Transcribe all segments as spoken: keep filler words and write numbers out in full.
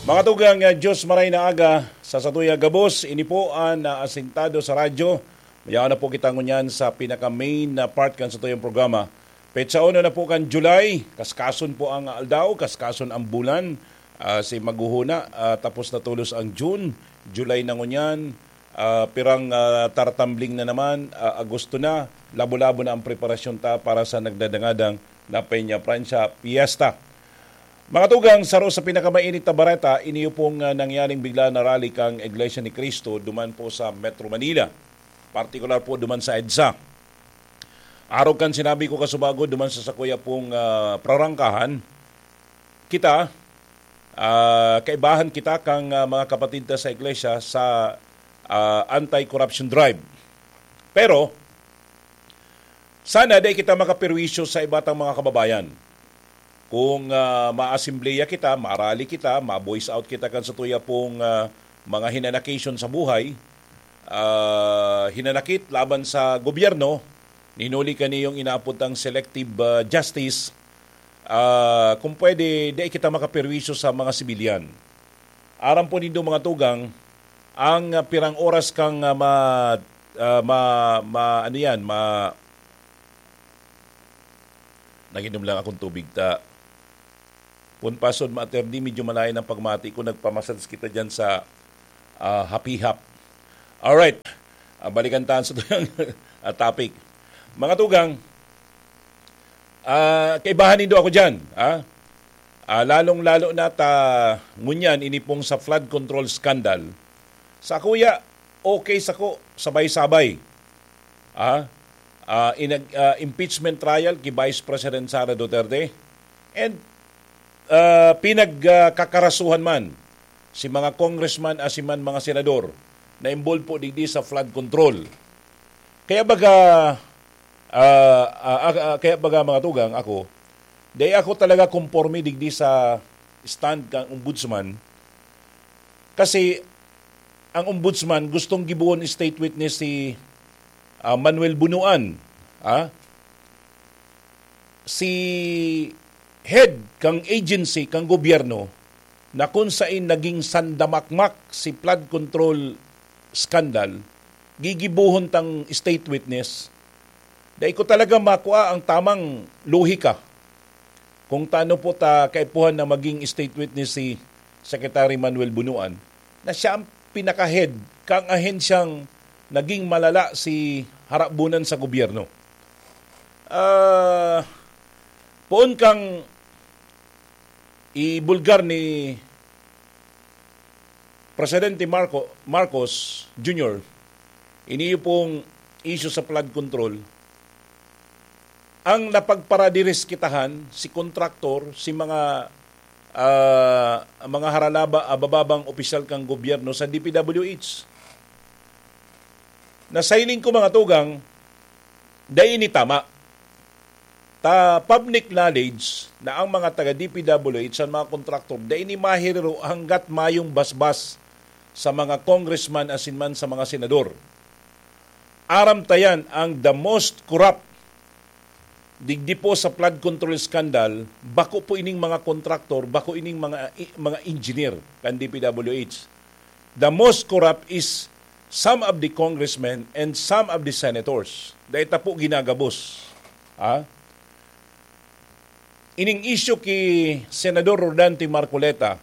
Mga tugang, ah, Diyos maray na aga sa satuya gabos. Ini po an, ah, asintado sa radyo. Mayaon na po kita ngunyan sa pinaka-main na part kan satuyang programa. Petsa uno na po kan July. Kaskason po ang aldaw, kaskason ang bulan. Ah, si maghuhuna, ah, tapos na tolos ang June. July na ngunyan. Ah, pirang, ah, tartambling na naman, ah, Agosto na. Labo-labo na ang preparasyon ta para sa nagdadangadang na Peña Francia Fiesta. Mga tugang, saro sa pinakamainit na bareta, iniyo pong, ah, nangyaring bigla na rally kang Iglesia ni Cristo duman po sa Metro Manila, partikular po duman sa EDSA. Arog kan sinabi ko kasubago duman sa sakuya pong, ah, prarangkahan, kita, ah, kaibahan kita kang, ah, mga kapatid ta sa iglesia sa, ah, anti-corruption drive. Pero, sana di kita makaperwisyo sa iba tang mga kababayan. Kung, ah, maasembleya kita, marally kita, ma-voice out kita kan satuya pong, ah, mga hinanakisyon sa buhay, ah, hinanakit laban sa gobyerno, hinuli kaniyong inaapod tang selective, ah, justice, ah, kung pwede, di kita makaperwisyo sa mga sibilyan. Aram po nindo, mga tugang, ang, ah, pirang oras kang, ah, ma-, ah, ma-, ma-, ano yan, ma-, Nag-inom lang akong tubig ta. Pun pasod, Mater D, medyo malayo ng pagmati ko. Nagpamassage kita dyan sa, ah, hapihap. Alright. Ah, balikan tayo sa tuyang, ah, topic. Mga tugang, ah, kaibahan nindo ako dyan, ha? Ah, lalong-lalo na ta ngunyan, ini pong sa flood control scandal. Sa kuya, okay sako, sabay-sabay. Ah, ah, inag-, ah, impeachment trial ki Vice President Sara Duterte. And, ah, pinag, ah, kakarasuhan man si mga congressman asin man mga senador na involved po digdi sa flood control. Kaya baga, ah, ah, ah, ah, kaya baga, mga tugang, ako, dai ako talaga konporme digdi sa stand kang ombudsman. Kasi ang ombudsman gustong gibohon state witness si, ah, Manuel Bunuan, ah. Si head kang agency kang gobyerno na kung sain naging sandamakmak si flood control scandal, gigibohon tang state witness. Dai ko talaga makua ang tamang lohika kung tano po ta kaipuhan na maging state witness si Secretary Manuel Bunuan, na siya ang pinaka-head kang ahensyang naging malala si harabunan sa gobyerno. Ah, poon kang ibulgar ni Presidente Marco-, Marcos Junior, iniyo pong issue sa flood control, ang napagparadiris kitahan, si kontraktor, si mga, ah, mga haralaba-, ah, bababang opisyal kang gobyerno sa D P W H. Na sa hiling ko, mga tugang, dai ini tama. Ta public knowledge na ang mga taga D P W H, ang mga kontraktor, dai ini mahiriro hanggat mayong basbas sa mga congressman asin man sa mga senador. Aram ta yan, ang the most corrupt digdi po sa flood control scandal, bako po ining mga kontraktor, bako ining mga, i-, mga engineer kan D P W H. The most corrupt is some of the congressmen and some of the senators. Dai ta po ginagabos. Ha? Ining issue ki Senador Rodante Marcoleta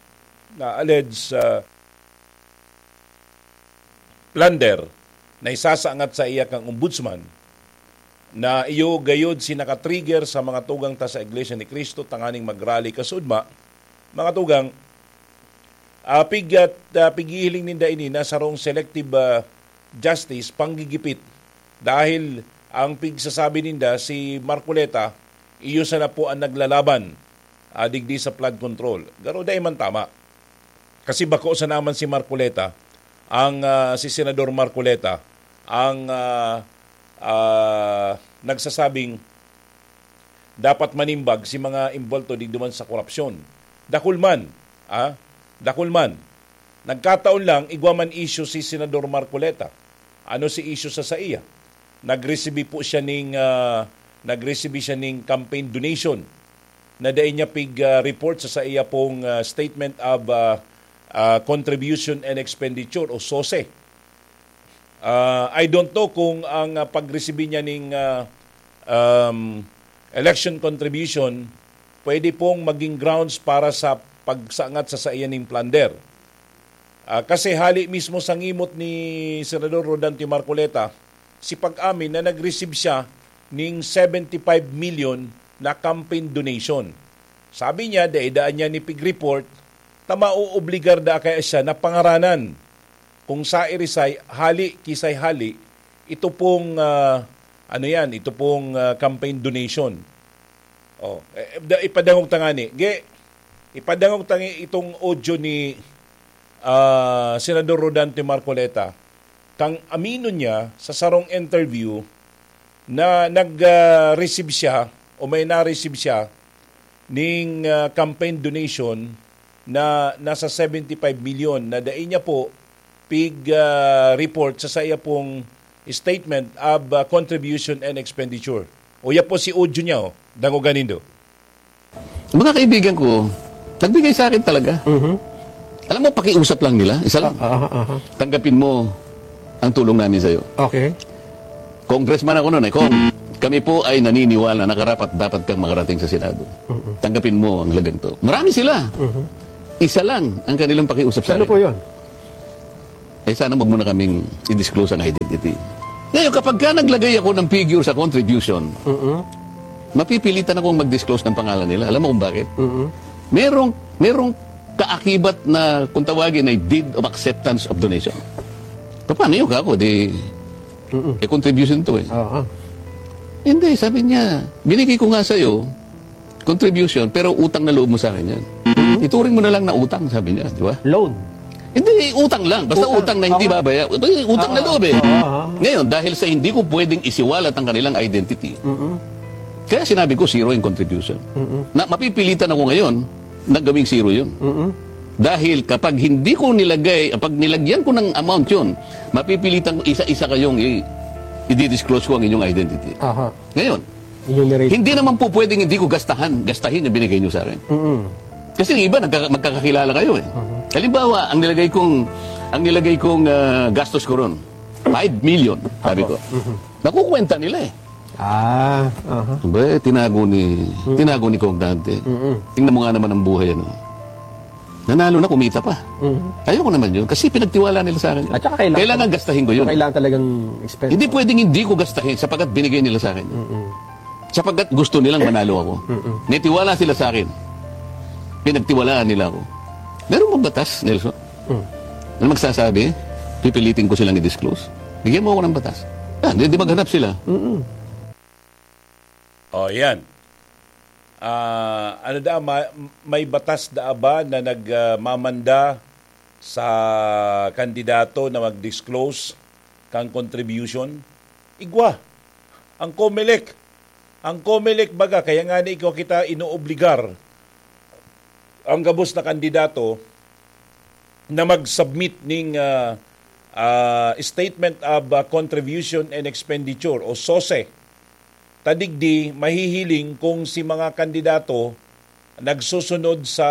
na alleged, ah, plunder na isasangat sa iya kang ombudsman, na iyo gayod si nakatrigger sa mga tugang ta sa Iglesia ni Cristo tanganing mag-rally kasudma, mga tugang, ah, pig-, ah, pighihiling ninda ini na sarong selective, ah, justice, panggigipit. Dahil ang pigsasabi ninda, si Marcoleta, iyo sana po ang naglalaban, ah, digdi sa flood control. Garo dai man tama. Kasi bako sana man si Marcoleta, ang, ah, si Senador Marcoleta, ang, ah, ah, nagsasabing dapat manimbag si mga imbolto digdi man sa korupsyon. Dakul man, ah, dakul man. Nagkataon lang, igwa man issue si Senador Marcoleta. Ano si issue sa saiya? Nagresibi po siya ning, ah, nagresibi siya ning campaign donation na dai niya pig, ah, report sa saiya pong, ah, statement of, ah, ah, contribution and expenditure o SOSE. Ah, I don't know kung ang, ah, pagresibi niya ning, ah, um, election contribution pwede pong maging grounds para sa pagsangat sa saiya ning plunder. Ah, kasi hali mismo sa ngimot ni Senador Rodante Marcoleta, si pag-amin na nag-receive siya ning seventy-five million na campaign donation. Sabi niya, daidaan niya ni pig-report, ta maoobligar da kaya siya na pangaranan kung sa irisay hali, kisay hali, ito pong, ah, ano yan, ito pong, ah, campaign donation. Oh, eh, da- ipadangog ta ngani. Ge, ipadangog ta ngani itong audio ni, ah, Senador Rodante Marcoleta. Kang amino niya sa sarong interview na nag, ah, receive siya o may na-receive siya ning, ah, campaign donation na nasa seventy-five million na dai niya po pig, ah, report sa saya pong statement of, ah, contribution and expenditure. Uya po si audio niya, oh. Dangogan nindo. Mga kaibigan ko, nagbigay sa akin talaga. Mhm. Alam mo, pakiusap lang nila, isa lang. Ah, ah, ah, ah. Tanggapin mo ang tulong namin sa'yo. Okay. Congressman ako noon eh. Kung kami po ay naniniwala na karapat dapat kang makarating sa Senado, Mhm. tanggapin mo ang halagang to. Marami sila. Mhm. Isa lang ang kanilang pakiusap sa Ano akin. po yun? Eh, sana wag mo na kaming i-disclose ang identity. Ngayon, kapag ka naglagay ako ng figure sa contribution, Mhm. mapipilitan akong mag-disclose ng pangalan nila. Alam mo kung bakit? Mhm. Merong, merong kaakibat na, kung tawagin, ay deed of acceptance of donation. Paano yun, kako? Di, Mhm. eh, contribution to eh. Oo. Hindi, sabi niya, binigay ko nga sa'yo, contribution, pero utang na loob mo sa akin yan. Mhm. Ituring mo na lang na utang, sabi niya, di ba? Loan. Hindi, utang lang. Basta Utang. utang na hindi Oo. babaya-, utang na Oo. loob eh. Oo, oo. Ngayon, dahil sa hindi ko pwedeng isiwalat ang kanilang identity, Mhm. kaya sinabi ko, zero yung contribution. Mhm. Na mapipilitan ako ngayon na gawing zero yun. Mhm. Dahil kapag hindi ko nilagay, pag nilagyan ko ng amount yun, mapipilitan ko isa-isa kayong i-, i-disclose ko ang inyong identity. Aha. Ngayon, Enumerate. hindi naman po pwedeng hindi ko gastahan, gastahin yung binigay niyo sa akin. Mm-mm. Kasi yung iba, nagka-, magkakakilala kayo eh. Mhm. Halimbawa, ang nilagay kong, ang nilagay kong, ah, gastos ko ron, five million, sabi Apo. ko. Mhm. Nakukwenta nila eh. Ah, aha. Ba, eh, tinago ni, Mhm. tinago ni Kong Dante. Mm-mm. Tingnan mo nga naman ang buhay, ano. Nanalo na, kumita pa. Mhm. Ayoko naman yun, kasi pinagtiwala nila sa akin. At saka kailangan Kailangan gastahin ko yun. Kailangan talagang expense. Hindi pwedeng hindi ko gastahin sapagkat binigay nila sa akin. Mm-mm. Sapagkat gusto nilang manalo ako. Mm-mm. May tiwala sila sa akin. Pinagtiwalaan nila ako. Meron bang batas, Nelson? Mm. Na magsasabi, pipilitin ko silang i-disclose? Bigyan mo ako ng batas. Ah, di, di maghanap sila. Mm-mm. Oh, yan. Ah, ano da, ma-, may batas da ba na nagmamanda sa kandidato na mag-disclose kang contribution? Igwa. Ang Comelec. Ang Comelec baga, kaya nga ni ikaw kita inoobligar ang gabos na kandidato na mag-submit ning, ah, ah, Statement of, ah, Contribution and Expenditure o SOSE. Ta digdi, mahihiling kung si mga kandidato nagsusunod sa,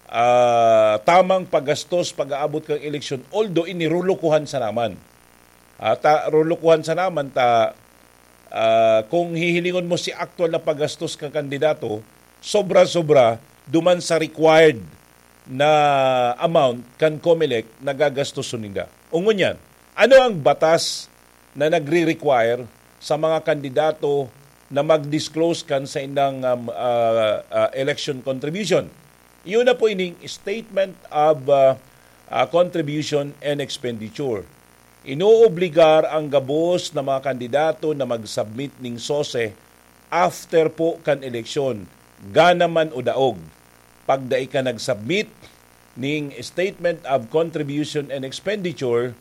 ah, tamang paggastos pag-aabot kang eleksyon, although ini rolokohan sa naman. Ah, ta-, rolokohan sa naman ta, ah, kung hihilingon mo si aktual na paggastos kang kandidato, sobra-sobra duman sa required na amount kan Comelec na gagastos ninda. Ngunyan, ano ang batas na nagre-require sa mga kandidato na mag-disclose kan saindang, um, ah, ah, election contribution? Iyon na po ining Statement of, ah, ah, Contribution and Expenditure. Inoobligar ang gabos na mga kandidato na mag-submit ning SOSE after po kan eleksyon, gana man o daog. Pag dai ka nag-submit ning Statement of Contribution and Expenditure,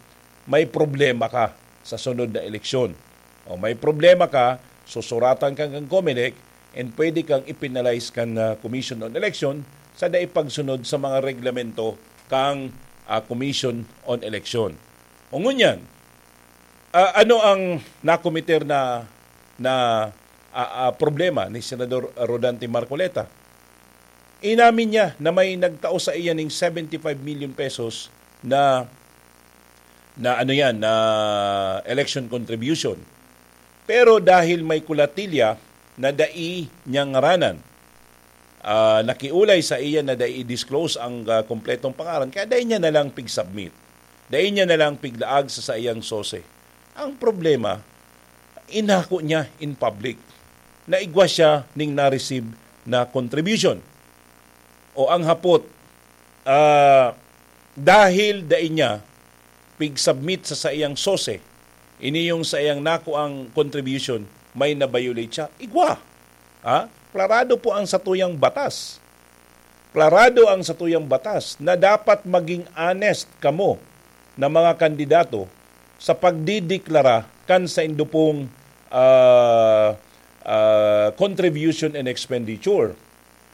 may problema ka sa sunod na eleksyon. O may problema ka, susuratan ka kan Comelec and pwede kang i-penalize kan, ah, Commission on Election sa dai pagsunod sa mga reglamento kang, ah, Commission on Election. O ngunyan, ah, ano ang nakomiter na, na, ah, ah, problema ni Senador Rodante Marcoleta? Inamin niya na may nagtao sa iya ning seventy-five million pesos na, na ano yan, na election contribution. Pero dahil may kulatilya na dai niya ngaranan, ah, nakiulay sa iya na dai i-disclose ang, ah, kompletong pangaran, kaya dai niya na lang pig-submit. Dai niya na lang piglaag sa saiyang sose. Ang problema, inako niya in public na igwa siya ning na-receive na contribution. O ang hapot, ah, dahil dai niya pig-submit sa saiyang sose, ini yung saiyang nakuang contribution, may na-violate siya. Igwa. Ha? Klarado po ang satuyang batas. Klarado ang satuyang batas na dapat maging honest kamo na mga kandidato sa pagdideklara kan saindo pong, ah, ah, contribution and expenditure.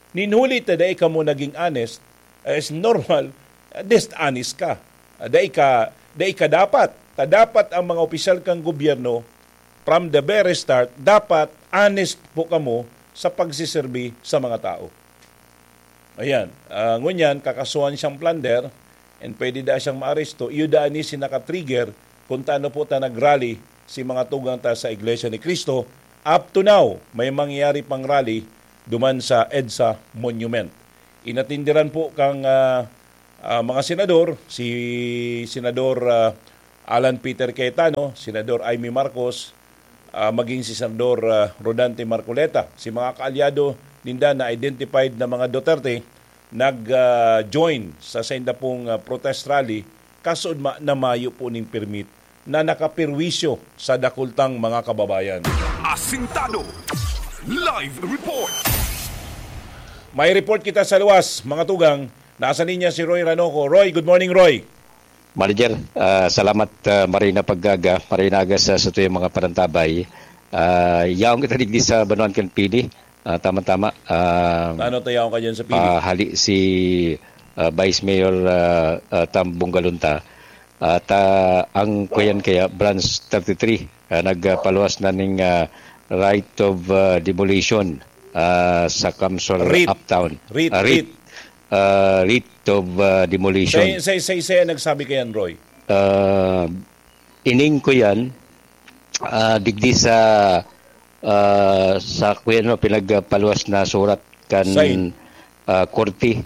Nin huli ta dai kamo naging honest, eh, is normal, ah, dishonest ka. Ah, dai ka, dai ka dapat. Ta dapat ang mga opisyal kang gobyerno, from the very start, dapat honest po kamo sa pagsiserbi sa mga tao. Ayan, ah, ngunyan, kakasuhan siyang plunder, and pwede da siyang maaresto. Iyo da ni si naka-trigger kung taano po ta nag-rally si mga tugang ta sa Iglesia ni Cristo. Up to now, may mangyayari pang rally duman sa EDSA Monument. Inatindiran po kang, ah, ah, mga senador, si Senador, ah, Alan Peter Cayetano, Senador Imee Marcos, ah, maging si Senador, ah, Rodante Marcoleta. Si mga kaalyado ninda na identified na mga Duterte nag, ah, join sa sainda pong, ah, protest rally, kasod ma-, na mayo po ning permit na nakapirwisyo sa dakultang mga kababayan. Asintado. Live report. May report kita sa luwas, mga tugang. Nasa linya si Roy Ranoco. Roy, good morning, Roy. Manager, ah, salamat, ah, maray na pag-aga, maray na aga sa, sa tuyang mga panantabay. Ah, yaon kita digdi sa Banwaan kan Pili. Ah, tama-tama. Ah, Ano tayaw ka dyan sa Pili? Ah, hali si, ah, Vice Mayor, ah, ah, Tam Bongalonta. At, ah, ang kuyan kaya, Branch thirty-three, ah, nagpaluwas na ning, ah, right of, ah, demolition, ah, sa Kamsor Writ. Uptown. Writ, Ah, writ. Ah, writ of, ah, demolition. Sa, sa, sa, sa nagsabi kayan, Roy? Ah, ining ko yan, ah, digdi sa, ah, sa kuya, no, pinagpaluwas na surat kan, Sign. Ah, korte.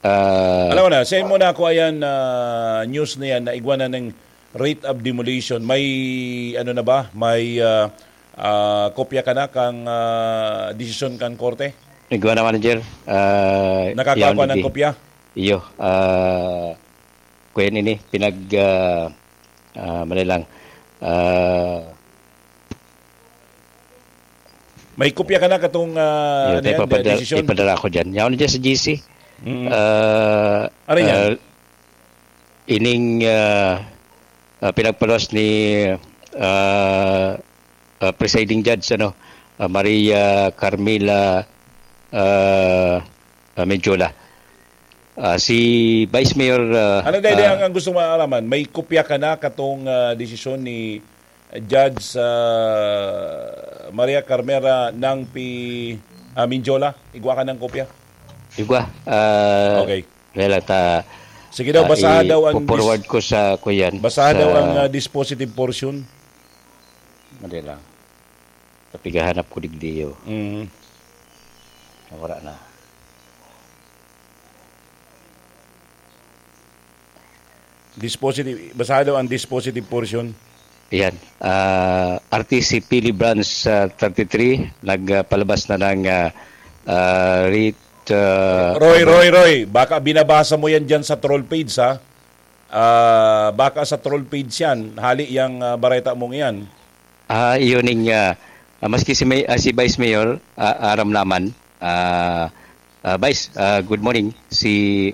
Ah, Alam mo na, send mo na ako ayan, ah, news na yan, na igwa na ng writ of demolition. May, ano na ba? May, ah, ah, kopya ka na kang, ah, desisyon kan korte? Igwa na, manager. Ah, Nakakakuha yaon ng digdi. Kopya? Iyo, ah, kuya nini, pinag, ah, ah, mali lang. Ah, May kopya ka na katong, ah, Iyo, ano tayo yan, papadala, desisyon? Ipadala ko dyan. Yaon dyan sa G C. Mm. Ah, Ano yan? Ah, ining, ah, ah, pinagpaluwas ni, ah, ah, presiding judge, ano, ah, Maria Carmela, ah, ah, Mendiola. Ah, si Vice Mayor, ah, Ano, dai, dai, ah, ang, ang gusto maalaman, may kopya ka na katong, ah, desisyon ni Judge, ah, Maria Carmela ng Pi-, ah, Mendiola? Igwa ka ng kopya? Igwa, ah, Okay. Wala ta, Sige daw, ah, basaha daw ang dis-, i-forward ko sa kuyan, basaha daw sa ang, ah, dispositive portion. Madali lang. Kapigahanap ko digdi, oh. Mm. Nawara na. Dispositive, basaha daw ang dispositive portion. Yan. Ah, R T C Pili Branch, ah, thirty-three, nagpalabas na ng, ah, ah, writ, ah, Roy, Roy, Roy, baka binabasa mo yan dyan sa troll page, ha? Ah, baka sa troll page yan, hali yang, ah, bareta mong yan. Ah, iyon ning, ah, ah, maski si May-, ah, si Vice Mayor, ah, aram naman. Ah, ah, Vice, ah, good morning. Si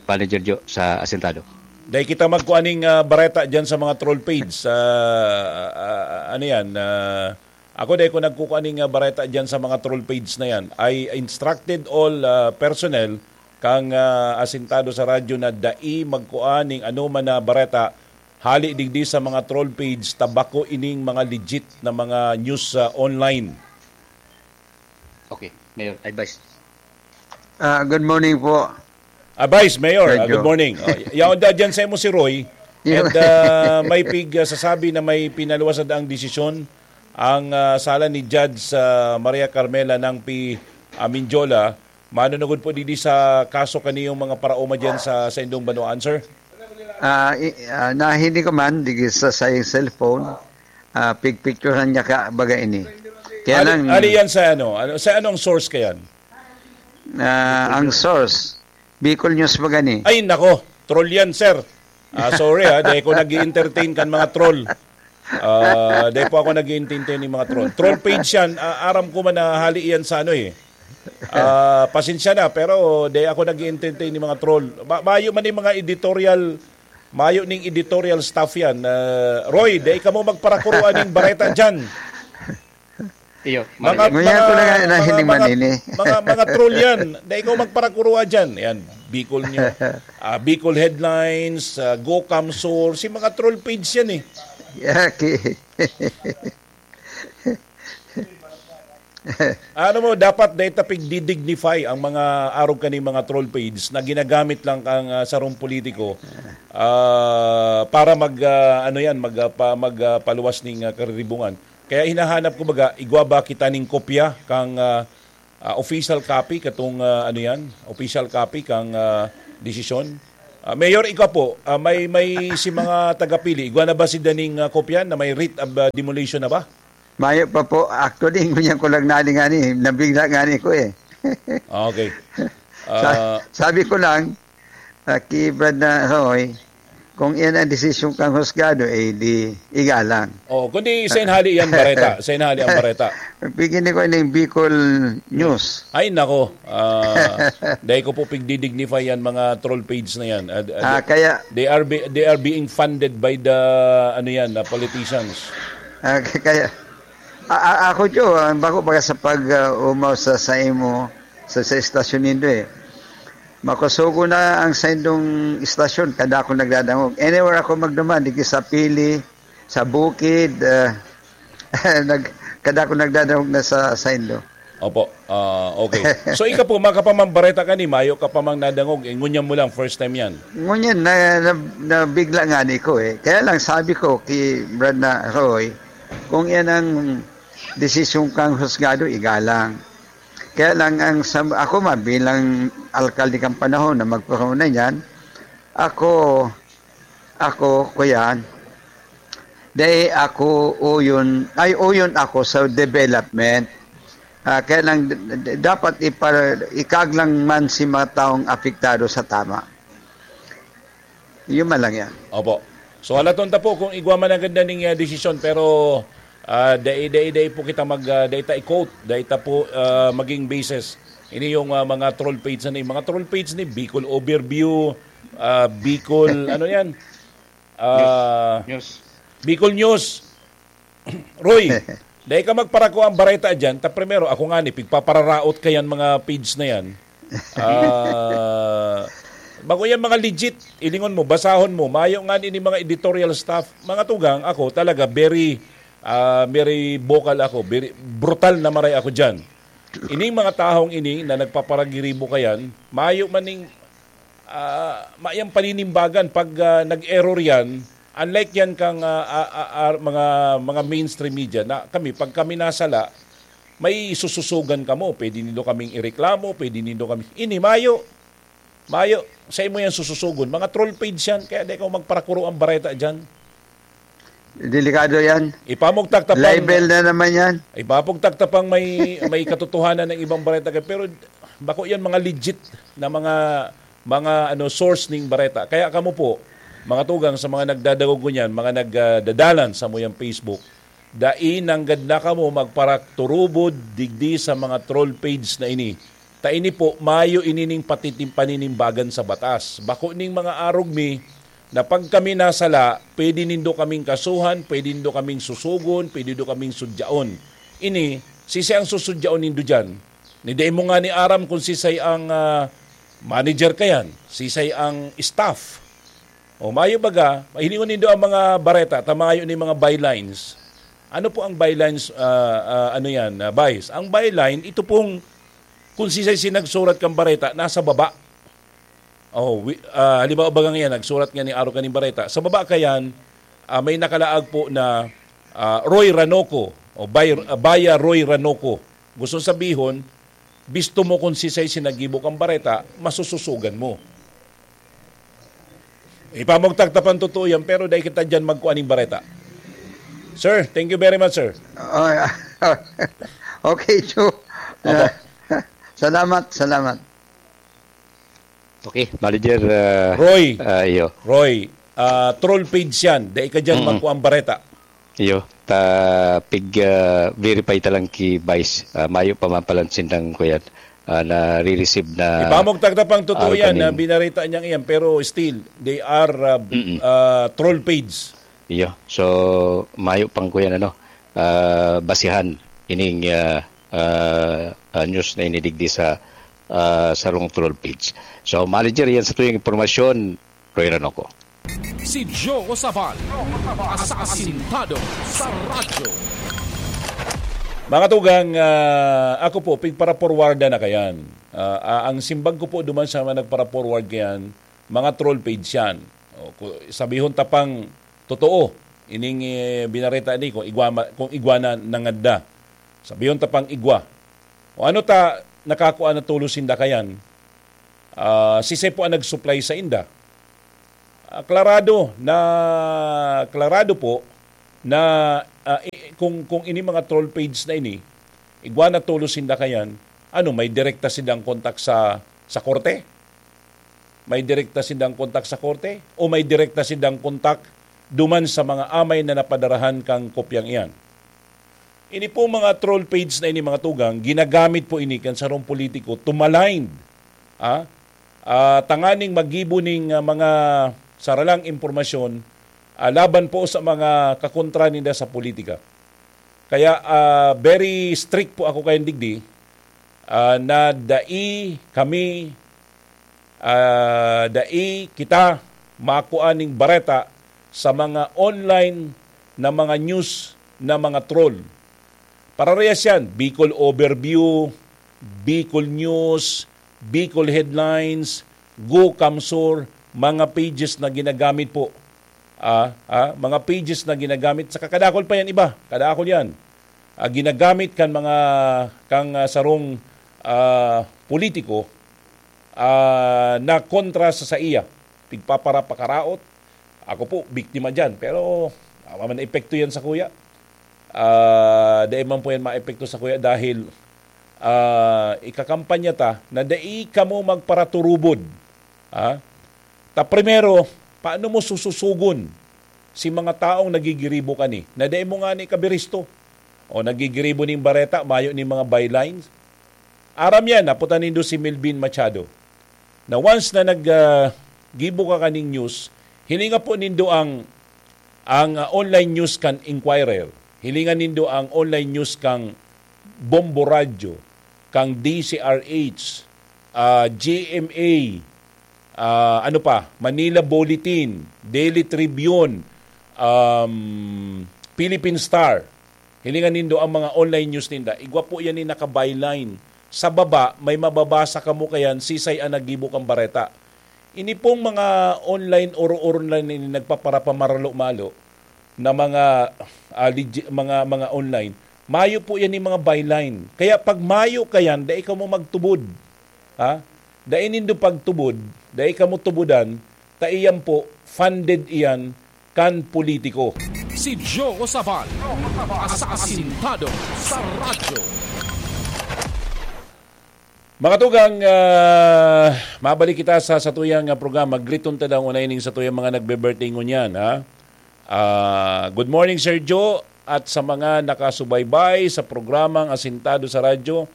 Manager Joe sa Asentado. Dai kita magkuaning, ah, bareta dyan sa mga troll page. Ah, ah, ah, ano yan? Ah, ako dai ko nagkukuaning, ah, bareta dyan sa mga troll page na yan. I instructed all, ah, personnel kang, ah, asentado sa radyo na dai magkuaning anoman na bareta hali digdi sa mga troll page, ta bako ining mga legit na mga news, ah, online. Okay, Mayor, advice. Ah, good morning po. Ah, Vice Mayor, ah, Radyo. Good morning. Oh, yaon da dyan sa imo si Roy. Yeah. And, ah, may pig, ah, sasabi na may pinaluwas na ang desisyon ang, ah, sala ni Judge, ah, Maria Carmela Nangpi, ah, Mindiola. Manunugod po didi sa kaso kaniyong mga paraoma dyan sa, sa indong banwaan, sir? Ah, i-, ah, nahiling ko man, digi sa sayang cellphone, ah, pigpicturan niya ka, baga ini. Kaya Ali, lang ali yan sa ano? Ano, sa anong source kayan? Ah, ang source, Bicol News ba gani? Ay, nako. Troll yan, sir. Ah, sorry, ha. Dahil ko nag entertain kan mga troll. Ah, dahil po ako nag entertain ni mga troll. Troll page yan. Ah, aram ko man na hali yan sa ano eh. Ah, pasensya na, pero dahil ako nag entertain ni mga troll. Ma- mayo man yung mga editorial, mayo ning editorial staff yan. Ah, Roy, dahil ka mo magparakuruan ng bareta dyan. Iyo, Mga, Marilyn. Ngunyan ko na mga, nga na mga, hindi mga, manini. mga, mga troll yan. Dahil ikaw magparakurua dyan. Yan, Bicol News. Ah, Bicol Headlines, ah, Gocam Source. Yung mga troll page yan eh. Yaki. Ano mo, dapat dahil tapig didignify ang mga arog kaning mga troll page na ginagamit lang kang, ah, sarong politiko, ah, para mag, ah, ano yan, mag, ah, pa, mag, ah, paluwas ning, ah, kariribukan. Kaya hinahanap ko baga, igwa ba kita ning kopya kang, ah, ah, official copy katong, ah, ano yan, official copy kang, ah, desisyon. Ah, Mayor, ikaw po, ah, may, may si mga tagapili, igwa na ba si daning, ah, kopya na may writ of, ah, demolition na ba? Mayo pa po. Actually, ngunyan ko lang nali nga ni, nabigla nga ni ko eh. Ah, okay. Sa- Ah, sabi ko lang, ah, kay Brad na Roy, kung iyan ang desisyon kang husgado, eh, di igalang. Oh, kundi sa inhali yan, bareta. Sa inhali ang bareta. Bigyan ko ng Bicol News. Ay, nako. Ah, dahil ko po pigdidignify yan, mga troll page na yan. Ah, ah, Ah, kaya they are be- they are being funded by the, ano yan, ah, politicians. Ah, k- kaya, a- a- ako, Joe, ang bako baga sa pag, ah, umaw sa, sa imo, sa, sa estasyon nindo eh. Makusugo na ang saindong estasyon, kada ako nagdadangog. Anywhere ako magduman, di sa Pili, sa Bukid, ah, nag, kada ako nagdadangog na sa saindo. Opo. Ah, okay. So, ika po, makapamambareta ka ni, mayo ka pa mang nadangog, eh, ngunyan mo lang, first time yan. Ngunyan, na, na, nabigla nga ni ko eh. Kaya lang sabi ko kay Brad na Roy, kung yan ang desisyon kang husgado, igalang. Kaya lang, ang sa, ako man, bilang alkalde kang panahon na magkorona niyan, ako, ako, kuyan, dahil ako uyon, ay uyon ako sa development. Ah, kaya lang, d- d- dapat ipa, ikaglang man si mga taong apektado sa tama. Yun man lang yan. Opo. So, halaton ta po kung igwa man ang ganda ning, ah, desisyon, pero, ah, dai, dai, dai po kita mag, ah, dai ta i-quote, dai ta po, ah, maging basis. Ini yung, ah, mga troll page na ni, mga troll page ni Bicol Overview, ah, Bicol, ano yan? Ah, News. Bicol News. Roy, dai ka magparako ang bareta dyan. Ta primero, ako nga ni, pigpapararaot ka yan, mga page na yan. Ah, bako yan mga legit. Ilingon mo, basahon mo. Mayo nga ni mga editorial staff. Mga tugang, ako talaga, very, ah, very vocal ako. Very brutal na maray ako dyan. Ining mga tahong ini na nagpaparagiribo ka yan, mayo man ning, ah, mayang paninimbagan pag, ah, nag-error yan. Unlike yan kang, ah, ah, ah, ah, mga, mga mainstream media na kami, pag kami nasala, may sususugan kamo. Pwede nindo kaming ireklamo, pwede nindo kami, ini mayo. Mayo, sa imo yan sususugon. Mga troll page yan, kaya di ka magparakuro ang bareta dyan. Delikado yan. Ipamugtak ta pang Libel na naman yan. Ipapugtak ta pang may, may katotohanan ng ibang bareta ka. Pero bako yan mga legit na mga, mga ano, source ning bareta. Kaya kamo po, mga tugang sa mga nagdadagog niyan, mga nagdadalan sa muyang Facebook, dai nanggad na kamo magparakturubod digdi sa mga troll page na ini. Ta ini po, mayo ini ning patitim-, paninimbagan sa batas. Bako ning mga arog mi na pag kami nasala, pwede nindo kaming kasuhan, pwede nindo kaming susugon, pwede nindo kaming sudyaon. Ini, sisay ang susudyaon nindo dyan? Ni dai mo nga ni aram kung sisay ang, ah, manager kayan, sisay ang staff. O mayo baga, mahilingon nindo ang mga bareta, ta mayo ni mga bylines. Ano po ang bylines, ah, ah, ano yan, ah, Vice? Ang byline, ito pong Kung sisay si nagsurat kan bareta, nasa baba. Oh, wi-, ah, halimbawa, baga ngayon, nagsurat nga ni Aro kaning bareta. Sa baba kayan, ah, may nakalaag po na, ah, Roy Ranoco, o Bay-, ah, Baya Roy Ranoco. Gusto sabihon, bisto mo kung sisay si naggibo kan bareta, masususugan mo. Ipamugtag ta pang totoo yan, pero dai kita dyan magkuha ning bareta. Sir, thank you very much, sir. Oh, yeah. Okay, Joe. Opo. Salamat, salamat. Okay, Manager, ah, Roy. Ah, iyo. Roy, ah, troll page yan. Dai ka dyan Mm-mm. magkuha ang bareta. Iyo, ta pig, ah, verify ta lang ki Vice. Ah, mayo pa man palan sindang kuyan, ah, nare-receive na Ipamugtag ta pang totoo aro yan, kanin. na binarita niyang iyan, pero still, they are, ah, Mm-mm. ah, troll page. Iyo. So, mayo pang kuyan, ano, ah, basihan ining, ah, ah, ah, news na inidigdi sa, ah, sarong troll page. So, Manager, yan sa tuyang impormasyon, Roy Ranoco. Si Joe Sabal, asasintado sa radyo. Mga tugang, ah, ako po, pigpara-forwardan na kayan. Ah, ah, ang simbag ko po duman sa mga nagpara-forward kayan, mga troll page yan. O, ku-, sabihon ta pang totoo, ining, eh, binareta ni kung igwa ma-, kung igwa na nanganda. Sabihon ta pang igwa. O ano ta nakakua na tulos sinda kayan? Ah, sisay po ang nag-supply sa inda? Ah, klarado na, klarado po na, ah, i-, kung, kung ini mga troll page na ini, igwa na tulos sinda kayan, ano, may direkta sindang kontak sa, sa korte? May direkta sindang kontak sa korte? O may direkta sindang kontak duman sa mga amay na napadarahan kang kopyang iyan? Ini po mga troll page na ini, mga tugang, ginagamit po ini kan sarong politiko to malind, ah, ah, tanganing maggibo ning, ah, mga saralang impormasyon, ah, laban po sa mga kakontra ninda sa politika. Kaya, ah, very strict po ako kayan digdi, ah, na dai kami, ah, dai kita makua ning bareta sa mga online na mga news na mga troll. Pararehas yan, Bicol Overview, Bicol News, Bicol Headlines, Go Kamsur, mga pages na ginagamit po. Ah, ah, mga pages na ginagamit. Sa kadakul pa yan iba, kadakul yan. Ah, ginagamit kan mga, kang, ah, sarong, ah, politiko, ah, na kontra sa saiya. Pigpaparapakaraot. Ako po, biktima dyan. Pero, ah, wala man epekto yan sa kuya. Ah, dai man po yan maepekto sa kuya dahil, ah, ikakampanya ta na dai kamo magparaturubod. Ah? Ta primero, paano mo sususugon si mga taong nagigiribo kani na dai mo ngani kabiristo? O nagigiribo ning bareta, mayo ning mga bylines? Aram yan, naputan nindo si Melvin Machado. Na once na nag, ah, gibo ka kaning news, hilinga po nindo ang, ang, ah, online news kan Inquirer. Hilinga nindo ang online news kang Bombo Radyo, kang D C R H, ah, G M A, ah, ano pa, Manila Bulletin, Daily Tribune, um, Philippine Star. Hilingan nindo ang mga online news ninda. Igwa po yan ni naka-byline. Sa baba, may mababasa kamo kayan, sisay ang naggibo kang bareta. Ini pong mga online, oro-oro na ni nagpaparapamaralo-malo na mga, ah, legi-, mga, mga online, mayo po yan ni mga byline. Kaya pag mayo kayan, dai kamo magtubod. Ha? Dai nindo pagtubod, dai kamo tubudan, ta iyan po, funded iyan kan politiko. Si Joe Sabal, asasintado sa radyo. Mga tugang, ah, mabalik kita sa satuyang, ah, programa. Griton ta daw unay ning satuyang mga nagbe-birthday ngunyan, ha? Ah, good morning, Sir Joe, at sa mga nakasubaybay sa programang Asintado sa Radyo.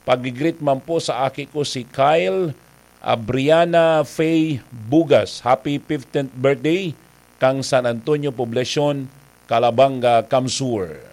Pag-greet man po sa aki ko si Kyle Abriana Faye Bugas. Happy fifteenth birthday kang San Antonio Poblacion, Calabanga, Kamsur.